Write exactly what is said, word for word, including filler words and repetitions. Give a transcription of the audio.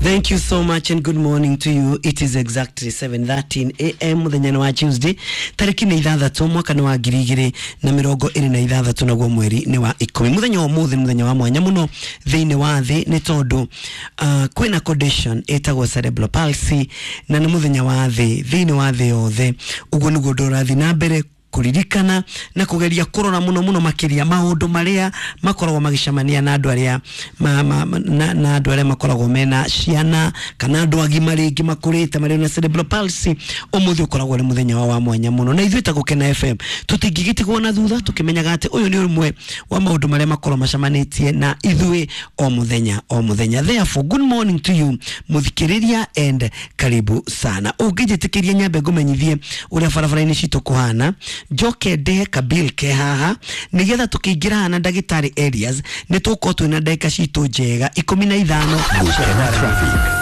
Thank you so much and good morning to you. It is exactly seven thirteen a m muthenya nĩ wa Tuesday, tarĩki nĩ ithathatũ, mwaka nĩ wa ngiri igĩrĩ na mĩrongo ĩrĩ na ithathatũ, naguo mweri nĩ wa ikũmi. Mũthenya wa ũmũthĩ nĩ mũthenya wa mwanya mũno thĩinĩ wa thĩ nĩ tondũ uh, kwĩna condition ĩtagwo cerebral palsy, na nĩ mũthenya wa thĩ thĩinĩ wa thĩ yothe. Ũguo nĩguo ũndũ ũrathiĩ na mbere kũririkana na kũgeria kũrora mũno mũno makĩria maũndũ marĩa makoragwo magĩcemania na andũ arĩa ma, ma, ma, na, na andũ arĩa makoragwo mena ciana kana andũ agima rĩngĩ makũrĩte marĩ na cerebral palsy. Ũmũthĩ ũkoragwo nĩ mũthenya wao wa mwanya mũno, na ithuĩ ta Gũkena F M tũtingĩgĩtigwo na thutha, tũkĩmenyaga atĩ ũyũ nĩ ũmwe wa maũndũ marĩa makoragwo macemanĩtie na ithuĩ o mũthenya o mũthenya. Therefore, good morning to you, mũthikĩrĩria, and karibu sana. Ũngĩnjĩtĩkĩria nyambe ngũmenyithie ũrĩa barabara-inĩ citũ kũhana, njoke ndehe kabil ke haha nĩgetha tũkĩingĩra haha na ndagĩtarĩ areas nĩ tũgũkorwo twĩna ndagĩka citũ njega ikũmi na ithano. Gũkena Traffic.